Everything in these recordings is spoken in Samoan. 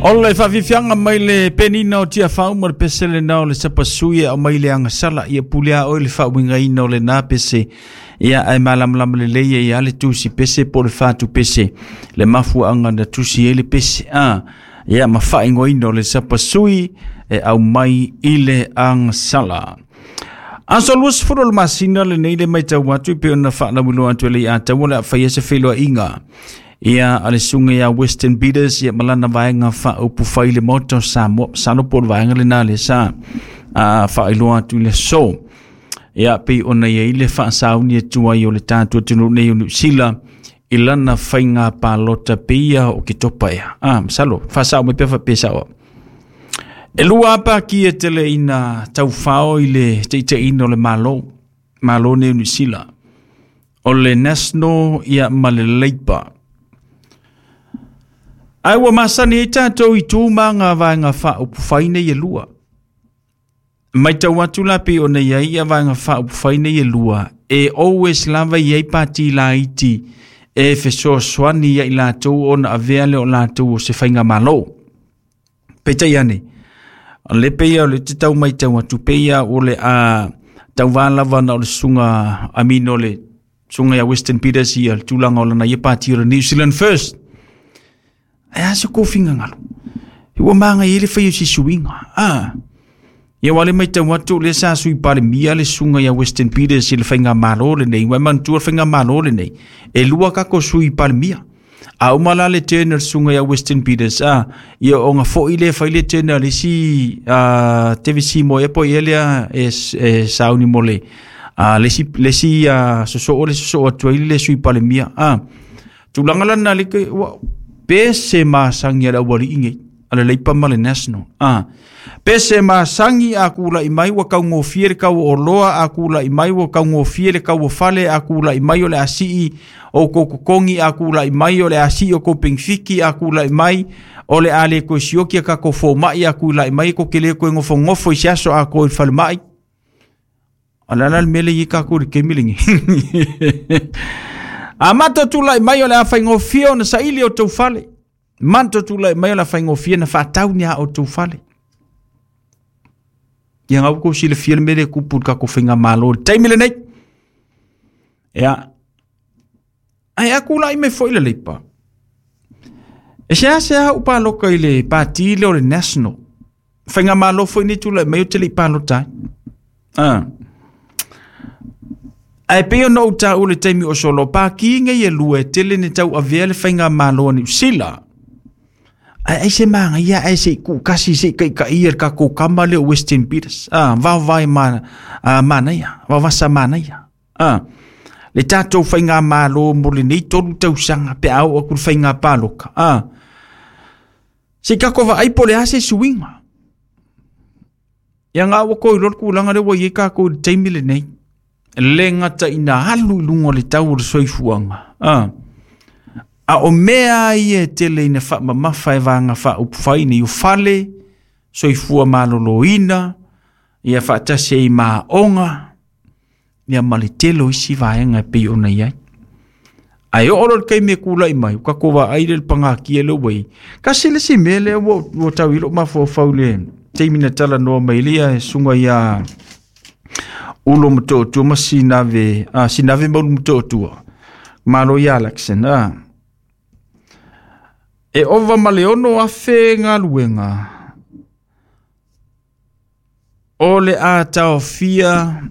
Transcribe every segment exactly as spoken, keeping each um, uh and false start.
O le faafiafiaga mai le penina o Tiafau ma le pese lenā o le sapasui e aumai le agasala. Ia pule a oe le faauigaina o lenā pese. Ia ae malamalama lelei ai a le tusi pese po o le fatu pese le mafuaaga na tusi ai le pese a ia ma faaigoaina o le sapasui e aumai i le agasala. Aso luasefulu o le masina lenei le matau atu e pei ona faalauiloa atu e le Ataua o le a faia se feiloaiga ia a le susuga ia Western Peters ia ma lana vaega faaupufai le Maota o Samoa. Masalo po o le vaega lenā le sa a faailoa atu i le aso. Ia pei ona iai le faasauni atu ai o le tatou atunuu nei o Niu Sila i lana faiga palota peia o Ketopa ea. Ah, masalo, faasao mai pea faapea sao. E lua apa ki e tele ina taufao i le teiteiina o le Malo, Malo nei o Niu Sila. O le National ia ma le Labour. Ai ua masani ai tātou i tū ma ngā vaega faaupufai nei e lua. Matau atu la pei ona i ai ia vaega faaupufai nei e lua, e always lava i ai pati laiti e fesoasoani ia i latou ona avea le o latou o se faiga malo. Peitai ane, o le pei o le te tau matau atu peia o le a tauvā lava na o le susuga Amino le susuga ia Western Peters ia le tulaga o lana ia pati o le New Zealand First. Ai a se kofinga ngalo. Ua maga i le fai o si suiga. Ah. Ia wale mai tau atu le sa sui palemia le susuga ia Western Peters i le faiga malo lenei. Ua manatua le faiga malo lenei. E lua kako sui palemia. A uma la le turn o le susuga ia Western Peters. Ah. Ia o nga foi le fai le turn le si uh, T V C mo e po i elea e, e sauni mo le uh, le si, le si uh, soso o le soso atu ai le sui palemia. Ah. Tulaga lana le ke ua pe se masangi a le aualii nei a le Leipa ma le National. Ah. Pe se masangi a kula'i mai ua kaugofie le kau o oloa, a kula'i mai ua kaugofie le kau o fale, a kula'i mai o le asii o kou totogi, a kula'i mai o le asii o kou penefiti, a kula'i mai o le a le toe sioki a kakou foma'i, a kula'i mai ko ke le toe gofogofo i se aso a ko i le falema'i. O le ala le mea le i kakou i le taimi lenei. A mato tula'i mai o le a faigofie ona saili o tou fale. Mato tula'i mai o le a faigofie na faatau ni a o tou fale. Ia ngau ko silafia le mea lea e tupu i le tatou faigamalo i le taimi lenei. Ia. Ae a kula'i mai foi le Leipa. E seasea au paloka i le pati lea o le National. Faigamalo foi nei tula'i mai ou te le i palota ai. Ah. Ae pei ona ou taua i le taimi o solo, paki nei e lua e tele ni tau avea le faigamalo a Niu Sila. Ae ai se magaia ae se i kuukasi se i kaikaia le tatou kama lea o Western Peters. Ah, vaovae ma, ah, manaia, vaovasa manaia. Ah, le tatou faigamalo mo lenei tolu tausaga pe a oo atu le faiga paloka. Ah, se i tatou vaai po o le a se suiga. Ia nga ua ko iloa le tulaga lea ua i ai tatou i le taimi lenei. Le gata ina alu i luga o le tau o le soifuaga. Ah. A o mea ia e tele ina faamamafa e vaega faaupufai nei o fale, soifua maloloina, ia faatasi ai ma aoga, ia ma le tele o isi vaega e pei ona i ai. Ae oo loa le taimi e kula'i mai, ua tatou vaai lea i le pagatia lea ua i ai. Tasi le isi mea lea ua ua tau i lou mafaufau i le taimi na talanoa mai ai le susuga ia Ulo Motootua ma Sinave, ah, Sinave ma Ulu Motootua, Malo ia Alexen, ah. E ova ma le ono afe galuega o le a taofia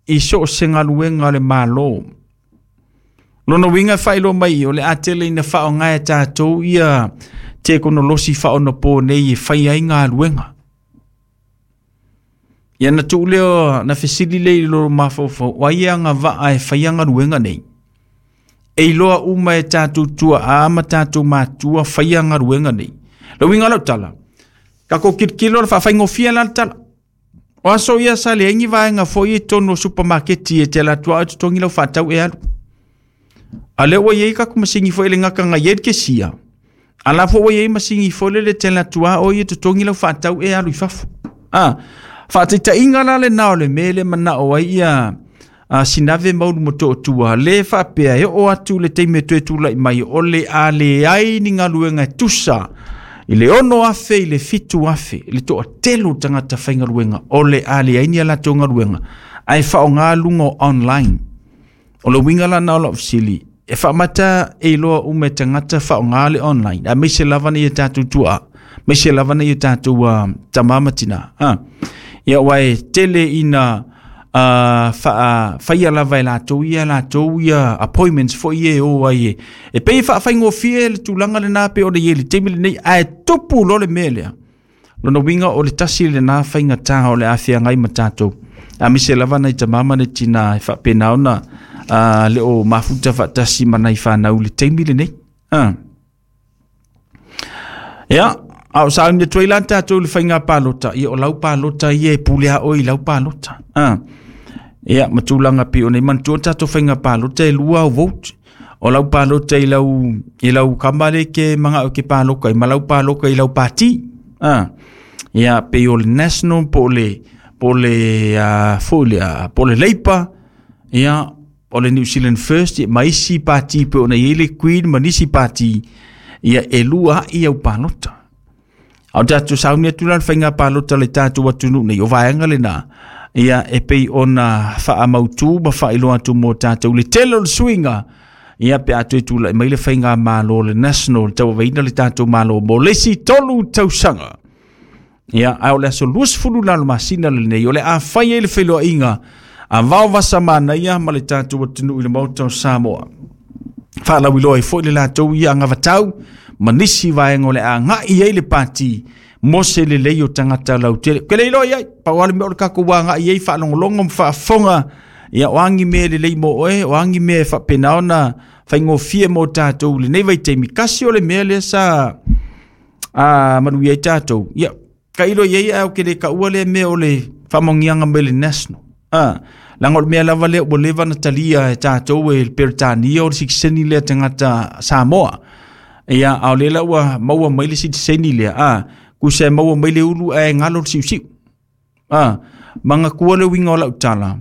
i so o se galuega a le Malo. Lona uiga e faailoa mai o le a tele ina faaaoga e tatou ia tekonolosi faaonapo nei e fai ai galuega. Ia na tuu lea na fesili lea i lo mafaufau, o ai e agavaa e faia galuega nei? E iloa uma e tatou tuaa ma tatou matua faia galuega nei. Le uiga o lau tala, tatou tilotilo le faafaigofie la le tala. O aso ia sa leai ni vaega foi i totonu o supamaketi e te alu atu lava e totogi lau faatau e alu. A lea ua i ai tatou masini foi le gata na i ai le kesia. A la foi ua i ai masini foi lele te alu atu lava o ia totogi lau faatau e alu i fafo. Ah, faataitaiga la lenā o le mea le manao ai ia a Sinave ma Ulu Motootua le faapea e oo atu le taimi e toe tula'i mai o le a leai ni galuega e tusa I le ono afe i le fitu afe, le toatele tagata faigaluega, o le a leai ni a latou galuega, ae faaaoga luga o online. O le uiga lana o lau fesili, e faamata e iloa uma e tagata faaaoga le online, aemaise lava nei o tatou tuaa, aemaise lava nei o tatou uh, tama ma tina. Ah. Ia aua e tele ina uh, faa, faia lava e latou ia latou ia appointments foi ia e o ai e. E pei e faafaigofie le tulaga lena pe o le i le taimi lenei, ae tupu loa le mea lea. Lona uiga o le tasi lena faigata o le afeagai ma tatou. Aemaise lava nai tama ma nai tina e faapena ona uh, le o mafuta faatasi ma nai fanau i le taimi lenei. Ah. Ia, a o sauni atu ai la tatou i le faiga palota, ia o lau palota ia e pule a oe i lau palota. Ah. Ia, ma tulaga pei ona i manatua tatou faiga palota e lua au vote. O lau palota i lau, i lau kama le ke manga o ke paloka, i ma lau paloka i lau pati. Ah. Ia, pei o le National, po o le, po o le, uh, foi le, uh, po o le Labour, ia, o le New Zealand First, ia, ma isi pati pe ona i ai le Queen, ma nisi pati, ia, e lua ai au palota. A o tatou sauni atu la le faiga palota le tatou atunuu nei, o vaega lena, ia, e pei ona faamautu ma faailoa atu mo tatou le tele o le suiga, ia, pe a toe tulai mai le faiga malo le National, le tauaveina le tatou malo mo le isi tolu tausaga. Ia, ae o le aso luasefulu lalo masina lenei, o le a fai ai le feiloaiga a vaovasa manaia ma le tatou atunuu i le Maota o Samoa. Faalauiloa ai foi le latou ia agavatau ma nisi vaega o le a agai ai le pati mo se lelei o tagata lautele. Ke le iloa i ai, pau lava le mea o le tatou agai ai faalogologo ma faafofoga, ia o agi mea lelei mo oe, o agi mea e faapena ona faigofie mo tatou i lenei vaitaimi. Kasi o le mea lea sa a, manuia ai tatou. Ia, kailo i ai ae o ke le kaua lea mea o le faamanuiaga mai le National. Ah, leaga o le mea lava lea ua leva na talia e tatou e le Peretania o le sitiseni lea tagata Samoa. Ia, a o lea la ua maua mai le sitiseni lea, ah, kusa e maua mai le ulu ae galo le siusiu. Ah, manatua le uiga o lau tala,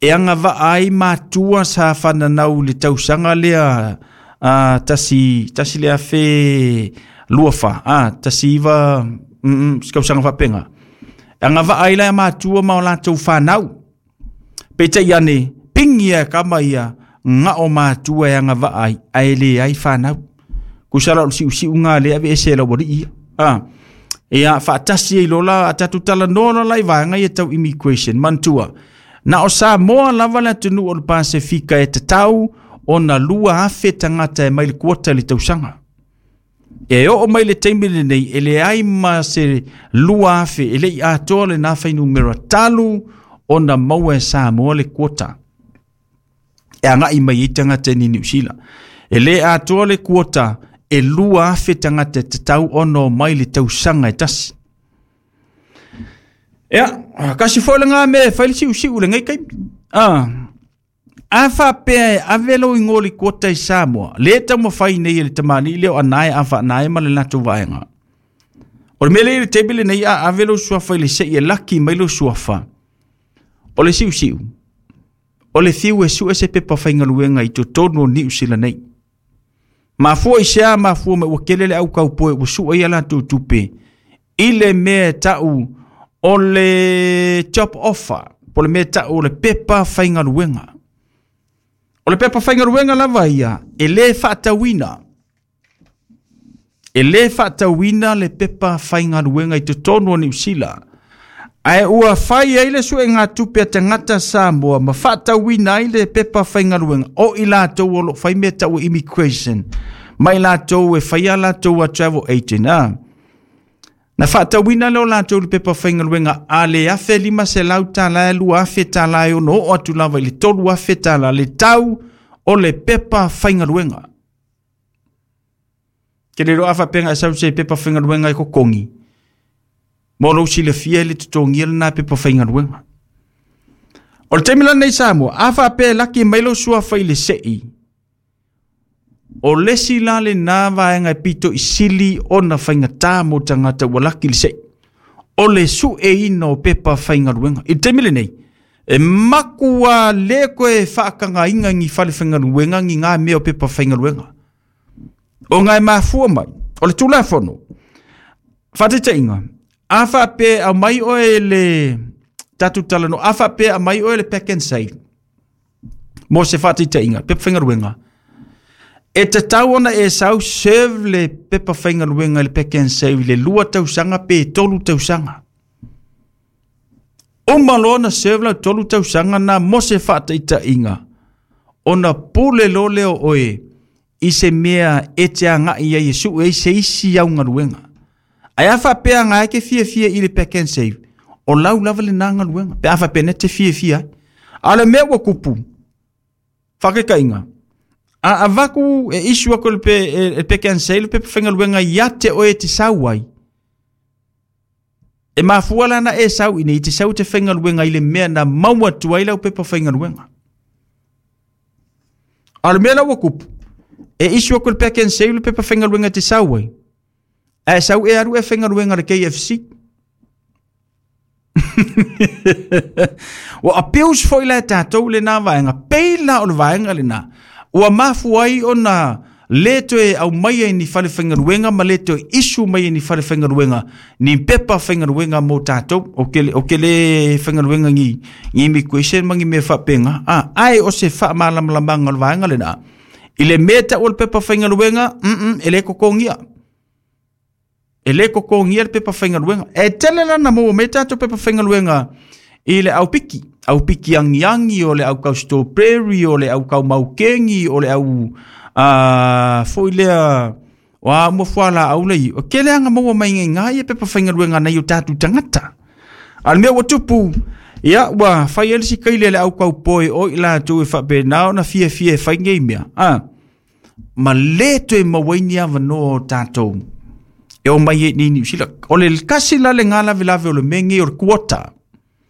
e agavaa ai matua sa fananau i le tausaga lea ah, tasi, tasi le afe lua fa, ah, tasi iva, mm, mm, se tausaga faapega. E agavaa ai la matua ma o latou fanau. Peitai ane, pingi ia kama ia, ngao matua e agavaa ai, ae leai fanau. Kusa la o le siusiuga lea ave ese e lau alii ia. Ah. Ia, faatasi ai lola, a tatou talanoa lola i vaega ia tau immigration. Manatua, na o Samoa lava le atunuu o le Pasefika e tatau ona lua afe tagata e mai le quota i le tausaga. E oo mai le taimi lenei, e leai ma se lua afe, e le i atoa lena fuainumera talu ona maua e Samoa le quota. E agai mai ai tagata i Niu Sila. E le atoa le quota, e lua afe tagata e tatau ona o mai le tausaga e tasi. Ia, kasi foi lena mea e fai le siusiu lenei taimi. Ah, a faapea e ave lou igoa i le quota i Samoa, le taumafai nei e le tamalii lea o Anae a faanae ma le latou vaega. O le mea lea i le taimi lenei a ave lou suafa i le sei e laki mai lou suafa. O le siusiu, o le fiu e sue se pepa faigaluega i totonu o Niu Sila nei. Mafua i sea mafua mai ua kele le au kaupoe ua sua ia latou tupe i le mea e tau o le job offer, po o le mea e tau o le pepa faigaluega. O le pepa faigaluega lava ia, e le faatauina. E le faatauina le pepa faigaluega i totonu o Niu Sila. Ae ua fai ai le suega tupe a tagata Samoa ma faatauina ai le pepa faigaluega o i latou o lo o fai mea tau immigration, ma i latou e faia latou a travel agent. Ah. Na faatauina lea o latou le pepa faigaluega a le afe lima selau tala e lua afe tala e ono oo atu lava i le tolu afe tala le tau o le pepa faigaluega. Ke le loa faapega e sau se pepa faigaluega e kokogi. Mo lou silafia i le totogia lena pepa faigaluega. O le taimi lenei Samoa, a faapea e laki mai lou suafa i le sei, o le isi la lena vaega e pito i sili ona faigata mo tagata ua laki le sei, o le sueina o pepa faigaluega. I le taimi lenei, e makua le koe faakagaina ni fale faigaluega ni ngā mea o pepa faigaluega. O ngā e mafua mai, o le Tulafono, Faataitaiga, a faapea aumai oe le tatou talanoa, a faapea aumai oe le Pak'nSave, mo se faataitaiga, pepa faigaluega, e tatau ona e sau serve le pepa faigaluega i le Pak'nSave i le lua tausaga pe tolu tausaga. Uma loa ona serve lau tolu tausaga na mo se faataitaiga, ona pule loa lea o oe i se mea e te agai ai e sue ai se isi au galuega. Ae a faapea ga e ke fiafia i le Pak'nSave, o lau lava lena galuega, pe a faapea na te fiafia ai. A o le mea ua kupu, faataitaiga, a avatu e issue atu le pe, e, e Pak'nSave le pepa faigaluega ia te oe e te sau ai, e mafua la na e sau i nei te sau te faigaluega i le mea na maua atu ai lau pepa faigaluega. A o le mea la ua kupu, e issue atu le Pak'nSave le pepa faigaluega te sau ai, ae sau e alu e faigaluega le K F C. Ua abuse foi la tatou lena vaega, pei la o le vaega lena. Ua mafua ai ona le toe aumai ai ni fale faigaluega ma le toe issue mai ai ni fale faigaluega, ni pepa faigaluega mo tatou, o ke, o ke le faigaluega ni, ni immigration ma ni mea faapena. Ah, ai o se faamalamalamaga o le vaega lena. I le mea tau o le pepa faigaluega, mm mm, e le kokogia. E le kokogia le pepa faigaluega. E tele lana maua mai tatou pepa faigaluega i le au piki. Au piki angiangi, o le au kau strawberry, o le au kau maukengi, o le au, uh, foi lea, o a mua fuala au lei. O ke leanga maua mai ngai ngai e pepa faigaluega nei o tātou tangata. A le mea ua tupu, ia, ua fai ele si kaile le au kau poi o i la tu e faapena ona fia fia e fai nei mea. Ah, ma le toe maua ni avanoa o tatou. E o mai e ni New Zealand. O le kasi la le ngā lave lave o le mea nei o le quota.